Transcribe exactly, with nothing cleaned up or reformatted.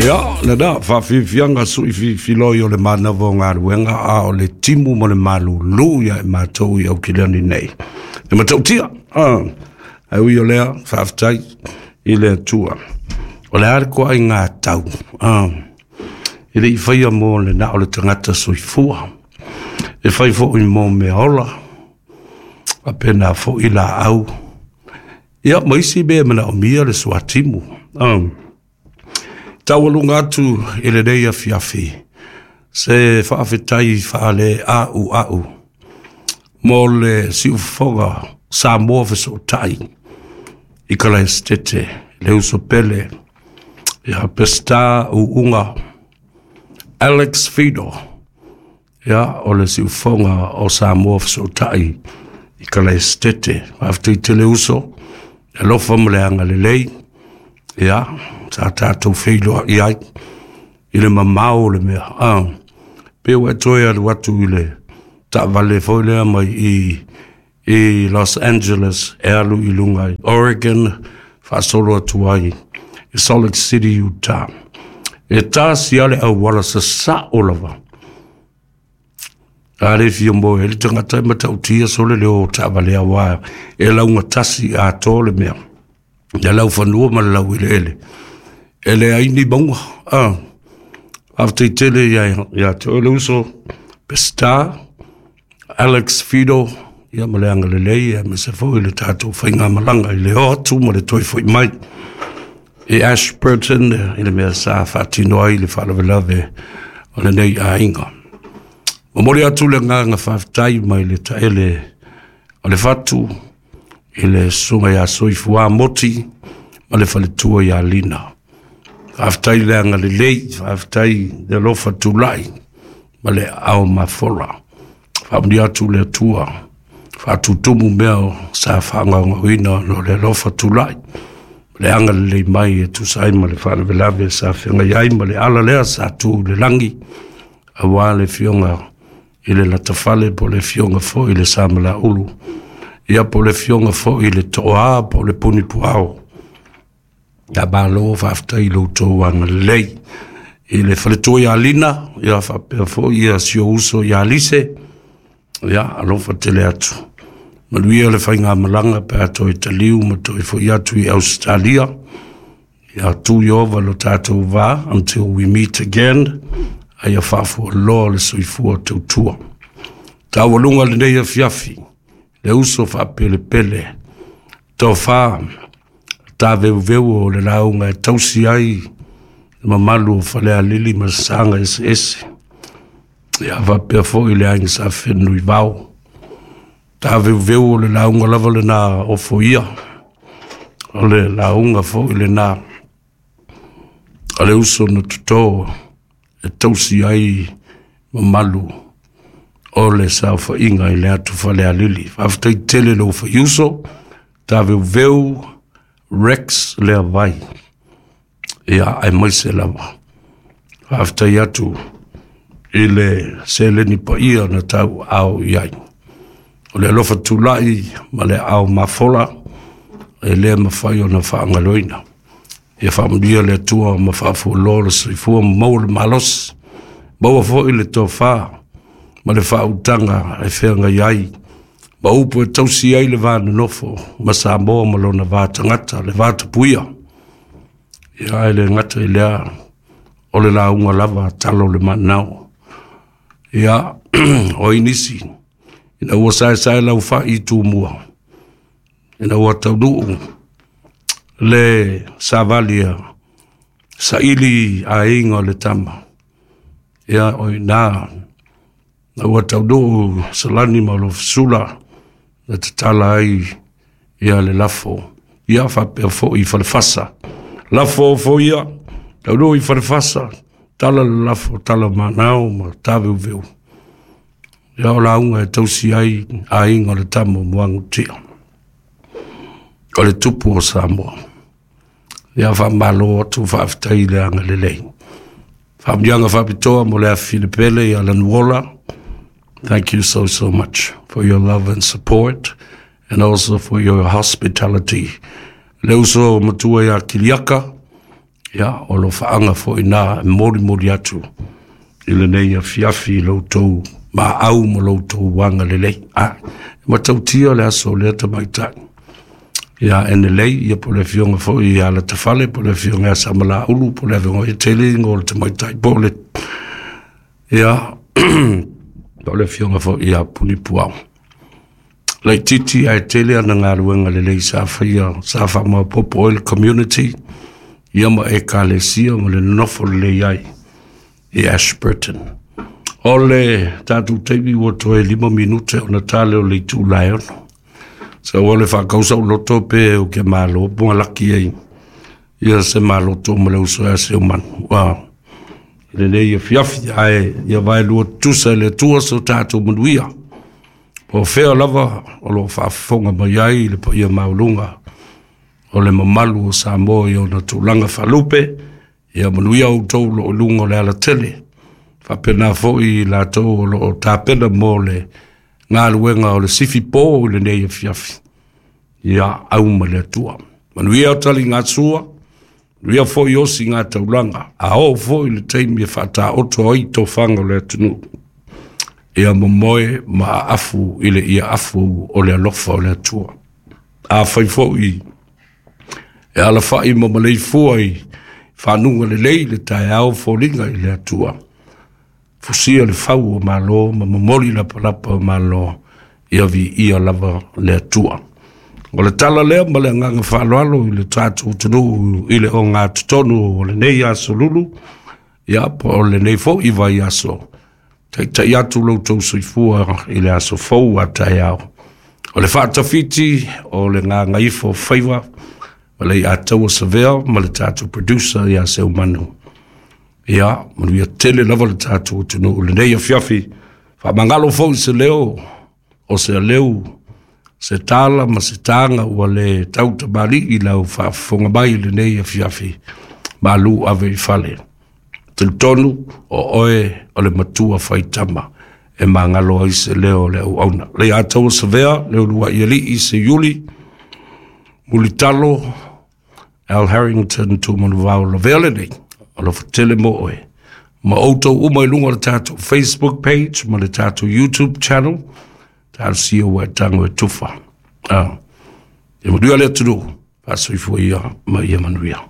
Ia, lena, faafiafiaga suʻifiafiloi o le manava o galuega a o le timu ma le malūlū ia e matou i Aukilani nei. E matautia, ae ui o lea, faafetai i le Atua. O le a le toaiga tau, e le i faia mo le na o le tagata soifua. E fai foi mo mea ola, faapena foi laau. Ia, ma isi mea e manaomia le suatimu. Taualuga atu i lenei afiafi se faafetai faale a'u a'u mo le siufofoga Samoa Fesootai i Kalaesetete, le uso pele ia Peseta Uuga Alex Fido. Ia, o le siufofoga o Samoa Fesootai i Kalaesetete, faafetai tele uso, alofa ma le agalelei. Ia, sa tatou feiloai ai i le mamao o le mea ah, pe ua e toe alu atu i le taavale foi lea mai i i Los Angeles e alu i luga i Oregon, faasolo atu ai i Salt Lake City, Utah. E tasi lava le auala sasao lava. A le fia moe ai le tagata e matautia sole le o taavale aua e laugatasi atoa le mea. Le laufanua ma le laueleele. E leai ni mauga. Ah. Faafetai tele ia, ia te oe le uso Peseta, Alex Fido, ia ma le agalelei, aemaise foi le tatou faigamalaga i le o atu ma le toe foi mai i Ashburton i le mea sa faatino ai le faalavelave o lenei aiga. Momoli atu le agaga faafetai mai le taele o le fatu i le susuga ia Soifua Moti ma le faletua ia Lina. Faafetai le agalelei, faafetai le alofa tulai ma le ao mafola. Faamanuia atu le Atua, faatutumu mea o sa faagaogaoina no le alofa tulai le agalelei mai e tusa ai ma le faalavelave sa feagai ai ma le ala lea sa tu i le lagi, aua le afioga i le Latafale po o le afioga foi i le Samalaulu, ia po o le afioga foi i le Toa po o le Punipuao. Ia malo, faafetai i lo outou agalelei. I le faletua ia Lina, ia faapea foi ia si ou uso ia Lise, ia alofa tele atu. Manuia le faigamalaga pe a toe taliu ma toe foi atu i Ausetalia. Ia tu Ieova lo tatou va until we meet again. Aia faafualoa le soifua tautua. Taualuga lenei afiafi, le uso faapelepele, tofa taveuveu o le lauga e tausi ai le mamalu o Falealili ma Saga eseese. Ia faapea foi le aiga sa Fenunuivao. Taveuveu o le lauga lava lena ofoia, o le lauga foi lena a le uso na toto e tausi ai mamalu o le saofaiga i le atu Falealili. Faafetai tele lou faiuso, taveuveu Rex Leavai. Ia, aemaise lava. Faafetai atu i le seleni paia na tau ao i ai. O le alofa tulai ma le ao mafola e le mafai ona faagaloina. Ia faamanuia le Atua ma faafualoa le soifua ma maua le malosi. Maua foi le tofa ma le faautaga e feagai ai ma upu e tausi ai le va nonofo ma Samoa ma lona va tagata, le va tapuia. Ia, e le gata i lea, o le lauga lava talo le manao. Ia, o nisi, ina ua saesae lau fai i Tumua, ina ua taunuu le savalia saili aiga o le tama. Ia, o ina, na ua taunuu Salani ma Lofesula, na tatala ai ia le lafo. Ia faapea foi i Falefasa. Lafo foi ia, taunuu i Falefasa, tala le lafo, tala manao ma taveuveu. Ia o lauga e tausi ai aiga o le tama o Muagututia. O le tupu o Samoa. Ia faamalo atu, faafetai i le agalelei. Faamanuiaga faapitoa mo le afi ia Lanuola. Thank you so, so much for your love and support and also for your hospitality. Le uso matua ia Kiliaka, Ia, o alofaaga foi na e molimoli atu i lenei afiafi i lo outou maau ma lo outou agalelei. A, e matautia le aso o lea tamaitai ia Enelei, ia po o le afioga foi ia Latafale, po o le afioga ia Samalaulu, po o le afioga ia tele igoa o le tamaitai, po o le ia po o le afioga foi ia Punipuao. Laitiiti ae tele ana galuega lelei sa faia sa faamaopoopo ai le community ia ma ekalesia ma le nonofo lelei ai i Ashburton. O le tatou taimi ua toe lima minute ona tale o le itula e ono. Sa ua le faakausa loto pe o ke malo po laki ai ia se maloto ma le uso ia se umanu. Wa lenei afiafi ae ia vae lua tusa i le Atua so tatou manuia. Po o fea lava o lo o faafofoga mai ai le paia maualuga o le mamalu o Samoa i ona tulaga faalupe, ia manuia outou o lo o i luga o le alatele. Faapena foi i latou o lo o tapena mo le galuega o le sifi po i lenei afiafi. Ia au ma le Atua. Manuia taligasua, manuia foi osi ngā taulaga, a oo foi le taimi e faataoto ai tofaga o le atunuu. Ia momoe ma aafu i le ia afu o le alofa o le Atua. Afai foi e alafai ma maleifua i fanuga lelei le taeao foliga i le Atua. Fusia le fau o malo ma momoli lapalapa o malo, ia viia lava le Atua. O le tala lea ma le agaga faaaloalo i le tatou atunuu i le ogatotonu o lenei aso lulu, ia po o lenei foi vaiaso. Taitai atu lo outou soifua i le aso fou a taeao. O le faatafiti o le gagaifo faiva ma le Ataua Savea ma le tatou producer ia Seumanu. Ia, manuia tele lava le tatou atunuu i lenei afiafi. Faamagalo foi se leo o se aleu se tala ma se taga ua le tautamalii i lau faafofoga mai i lenei afiafi. Malu ave i fale. Talitonu o oe o le matua faitama e magalo ai se leo o le auauna. Le Ataua Savea, le uluai alii se Iuli, Mulitalo, Al Harrington Tumanuvao lavea lenei, alofa tele mo oe. Ma outou uma i luga o le tatou Facebook page ma le tatou YouTube channel, talosia ua e tago e tufa. Ah, ia manuia le atunuu, faasoifua ia ma ia manuia.